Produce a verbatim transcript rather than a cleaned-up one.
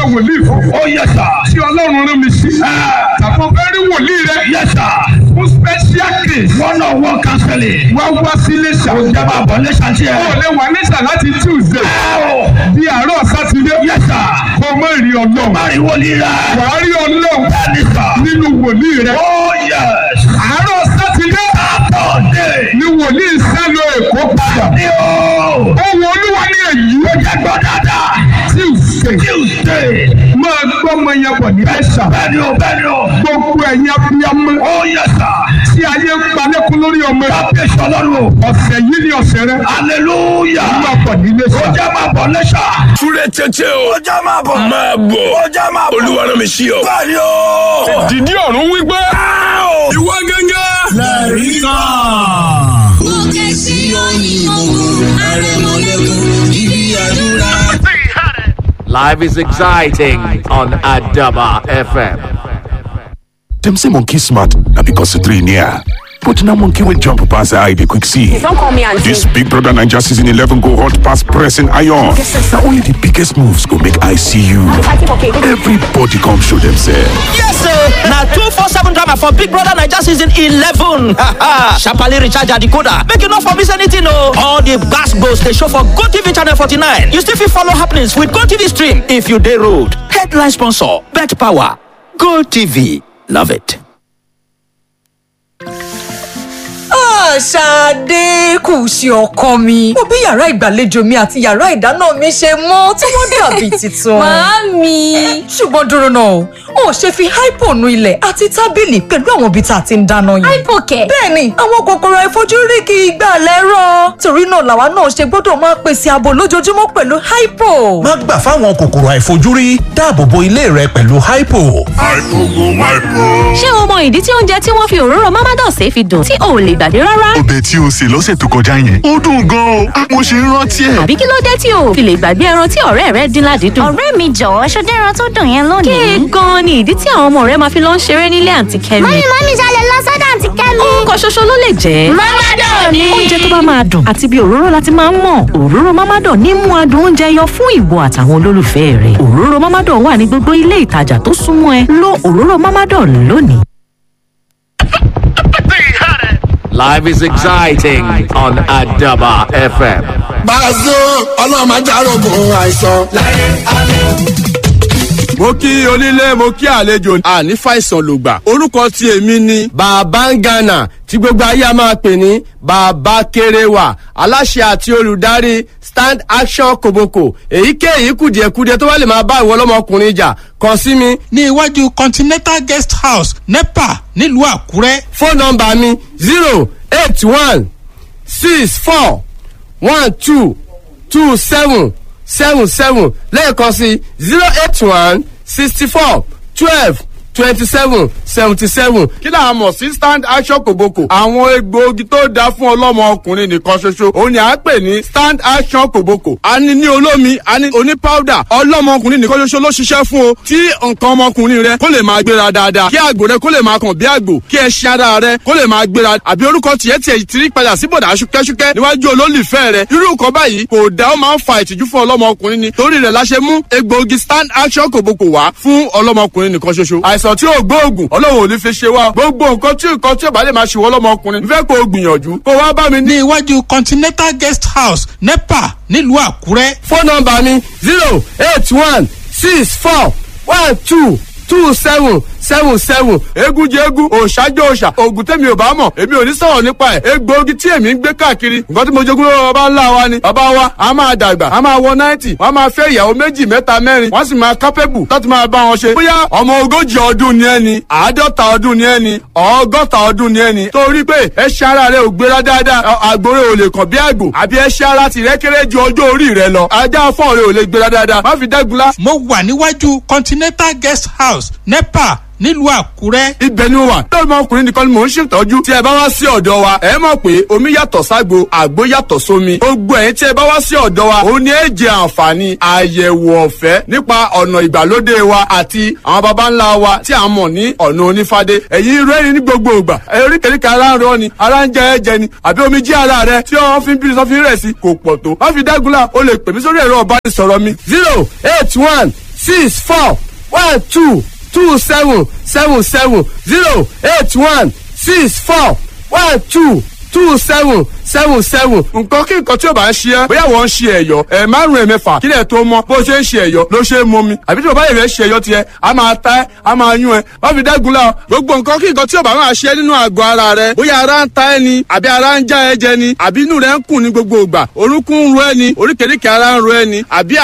ṣiṣẹ́ wòlíì fún. Oh yes sir. Tí Ọlọ́run rán mi sí. Tàbí o fẹ́ rí wòlíì rẹ. Yes sir. Fún special case. One on one counseling. Wá wá sí Iléṣà. Ó jẹ́ máa bọ̀ Iléṣà tí ẹ. O lè wà Iléṣà láti Tuesday. Ẹ o. Di àárọ̀ Sátidé. Yes sir. Kò mọ̀ rí Ọlọ́run. Má rí wòlíì rẹ. Wàá rí Ọlọ́run Bẹ́ẹ̀ni sir. nínú wòlíì rẹ. Oh yes. Àárọ̀ Sátidé Saturday. ni wòlíì sálọ Èkó padà. Ní o. Ohun Olúwa ní èyí. Ó jẹ́ gbọ́ dáadáa. Tuesday. Tuesday. Máa gbọ́ ọmọ yẹn bọ̀ ní Iléṣà. Bẹ́ẹ̀ni o, bẹ́ẹ̀ni o. Gbogbo ẹ̀yin abiyamọ Oh yes sir. tí ayé ń palẹ́kún lórí ọmọ. Kábíyèsí Ọlọ́run o. Ọ̀sẹ̀ yìí ni ọ̀sẹ̀ rẹ. Hallelujah. Máa bọ̀ ní Iléṣà. Ó jẹ́ máa bọ̀ Iléṣà. Súré tètè o. Ó jẹ́ máa bọ̀. Máa bọ̀. Ó jẹ́ máa bọ̀. Olúwa rán mi sí ọ. Bẹ́ẹ̀ni o. Dìdí ọ̀run wípé. Ìwọ gángan. Lẹ́rìí kan. Òkè Síónì mọ̀gùn àrẹ̀mọ̀lẹ́kùn ibi àdúrà. Life is exciting on Adaba F M. Dem say monkey smart na because the three near. But now monkey will jump pass the eye they quick see. Don't call me auntie. This Big Brother Naija season eleven go hot pass pressing iron. Now only the biggest moves go make I see you. Everybody come show themselves. Yes, sir. Now two four seven drama for Big Brother Naija season eleven. Sharply recharge your decoder. Make you not for miss anything, no. All the gas goes they show for GoTV channel forty-nine. You still fit follow happenings with GoTV stream if you dey road. Headline sponsor: Bet Power. GoTV, love it. Ṣadé kù sí ọkọ mi. Mo bí yàrá ìgbàlejò mi àti yàrá ìdáná mi ṣe mọ́ tí wọ́n dàbí tuntun. Màámi. Ṣùgbọ́n dúró náà o, ò ṣe fi hypo nu ilẹ̀ àti tábìlì pẹ̀lú àwọn ibi tá a ti ń dáná yẹn. Hypo kẹ̀. Bẹ́ẹ̀ni, àwọn kòkòrò àìfojúrí kì í gbà lẹ́rọ̀. Torí náà làwa náà ṣe gbọ́dọ̀ máa pèsè ààbò lójoojúmọ́ pẹ̀lú hypo. Má gbà fáwọn kòkòrò àìfojúrí, dáàbò bo ilé rẹ pẹ̀lú hypo. Ṣé o mọ ìdí tí oúnjẹ tí wọ́n fi òróró Mamados fi dùn tí o ò lè gbàgbé rárá? Ọbẹ̀ tí o sè lọ́sẹ̀ tó kọjá yẹn, ó dùn gan-an o. Mo ṣe ń rántí ẹ̀. Àbí kí ló dé tí o ò fi lè gbàgbé ẹran tí ọ̀rẹ́ rẹ dín ládìídùn? Ọ̀rẹ́ mi jọ̀wọ́, ṣọdẹ́ ẹran tó dùn yẹn lónìí. Kí gan-an ni ìdí tí àwọn ọmọ rẹ máa fi lọ ń ṣeré nílé àǹtí Kẹ́mi? Mọ́mí mọ́mí ṣalẹ̀ lọ sọ́dọ̀ àǹtí Kẹ́mi. Orúkọ ṣoṣo ló lè jẹ́. Mamados ni. Oúnjẹ tó bá máa dùn àti bí òróró láti máa ń mọ̀. Òróró Mamados ní mú adùn oúnjẹ yọ fún ìwọ àtàwọn olólùfẹ́ rẹ̀. Òróró Mamados wà ní gbogbo ilé ìtajà tó súnmọ́ ẹ. Lo òróró Mamados lónìí. Life is exciting on Adaba F M. Bàzó ọlọ́run máa járògùn àìsàn. Mo kí onílé, mo kí àlejò, àní fàìsàn lògbà. Orúkọ tí èmi ni Bàbá Ngana, tí gbogbo ayé a máa pè ní Bàbá Kéréwà, aláṣẹ àti olùdarí Stand Action Koboko. Èyíkéyìí kùdìẹ̀kudiẹ tó bá lè máa bá ìwọ ọlọ́mọkùnrin jà, kàn sí mi. Ní iwájú Continental Guest House, NEPA, nílùú Àkúrẹ́. Fóònù nọ́mbà mi zero eight one six four one two two seven seven seven, lẹ́ẹ̀kan sí zero eight one sixty four twelve twenty seven seventy seven. Kí là á mọ̀ sí Stand Action Kòbókò? Àwọn egbòogi tó dáa fún ọlọ́mọ ọkùnrin nìkan ṣoṣo òun ni à ń pè ní Stand Action Kòbókò. A ní ní olómi, a ní oní powder. Ọlọ́mọ ọkùnrin nìkan ṣoṣo ló ṣiṣẹ́ fún o. Tí nǹkan ọmọkùnrin rẹ kó lè máa gbéra dáadáa, kí àgbò rẹ kó lè máa kàn bí àgbò, kí ẹṣin ara rẹ kó lè máa gbéra, àbí orúkọ tiẹ̀ tiẹ̀ ti rí padà sí bọ̀dà ṣúkẹ́ṣúkẹ́ níwájú olólùfẹ́ rẹ, irú nǹkan báyìí kò dá, ó máa ń fa ìtìjú fún ọlọ́mọkùnrin ni. Torí rẹ̀ la ṣe mú egbòogi Stand Action Kòbókò wá fún ọlọ́mọkùnrin nìkan ṣoṣo. Àìsàn tí ò gbóògùn, Ọlọ́run ò ní fi ṣe wá. Gbogbo nǹkan tí nǹkan tí ò bá lè máa ṣe wọ́n lọ́mọkùnrin, fẹ́ kó o gbìyànjú kó wá bá mi ní iwájú Continental Guest House, NEPA, nílùú Àkúrẹ́. Fóònù nọ́mbà mi zero eight one six four one two two seven seven seven. Eégún jẹ eégún, òòṣà jẹ òòṣà, oògùn tèmi ò bá mọ̀, èmi ò ní sọ̀rọ̀ nípa ẹ̀. Egbòogi tí èmi ń gbé káàkiri, nǹkan tí mo jogún lọ́wọ́ bàbá ńlá wa ni. Bàbá wa a máa dàgbà, a máa wọ náìtì, wọ́n máa fẹ́ ìyàwó méjì, mẹ́ta, mẹ́rin, wọ́n sì máa kápẹ́bù láti máa bá wọn ṣe. Bóyá ọmọ ogójì ọdún ni ẹni, àádọ́ta ọdún ni ẹni, ọgọ́ta ọdún ni ẹni, torí pé ẹṣin ara rẹ ò gbéra dáadáa, àgbòrè ò lè kàn bí àgbò, àbí ẹṣin ara tìrẹ kéré ju ọjọ́ orí rẹ lọ, ajá fọ́ọ̀rẹ́ ò lè gbéra dáadáa, má fi dẹ́gunlá. Mo wà níwájú Continental Guest House, NEPA, nílùú Àkúrẹ́. Ibẹ̀ ni mo wà. Lọ́mọ ọkùnrin nìkan ni mò ń ṣètọ́jú. Tí ẹ bá wá sí ọ̀dọ̀ wa, ẹ mọ̀ pé omi yàtọ̀ ságbo, àgbo yàtọ̀ sómi. Gbogbo ẹ̀yin tí ẹ bá wá sí ọ̀dọ̀ wa, òun ni ẹ jẹ àǹfààní àyẹ̀wò ọ̀fẹ́ nípa ọ̀nà ìgbàlódé wa àti àwọn baba ńlá wa tí a mọ̀ ní ọ̀nà onífádé. Ẹ̀yin rẹ́rìn ní gbogbo ìgbà. Oríkèéríkèé ara ń rọ ni, ara ń jẹ ẹ̀jẹ̀ ni, àbí omi jí ara rẹ tí wọ́n fi ń bí sọ́fin rẹ̀ sí kò pọ̀ tó. Má fi dágunlá, o lè pè mí sórí ẹ̀rọ ọ̀bánisọ̀rọ̀ mi zero eight one six four one two two seven seven seven zero eight one six four one two two seven seven seven. nǹkan kí nǹkan tí o bá ń ṣe ẹ́ bóyá wọ́n ń ṣe ẹ̀yọ́ ẹ̀ márùn-ún ẹ̀mẹ́fà kílẹ̀ tó mọ́ bó ṣe ń ṣe ẹ̀yọ́ ló ṣe é mú mi àbí tí o bá yẹ̀ fẹ́ ṣe ẹ̀yọ́ tiẹ̀ a máa ta ẹ́ a máa yún ẹ́ wọ́n fi dẹ́gun la gbogbo nǹkan kí nǹkan tí o bá máa ṣe nínú àgọ́ ara rẹ bóyá ara ń ta ẹ́ ni àbí ara ń já ẹ jẹ ni àbí inú rẹ ń kùn ní gbogbo ìgbà orúnkún ń ro ẹ́ ni oríkèéríkèé ara ń ro ẹ́ ni àbí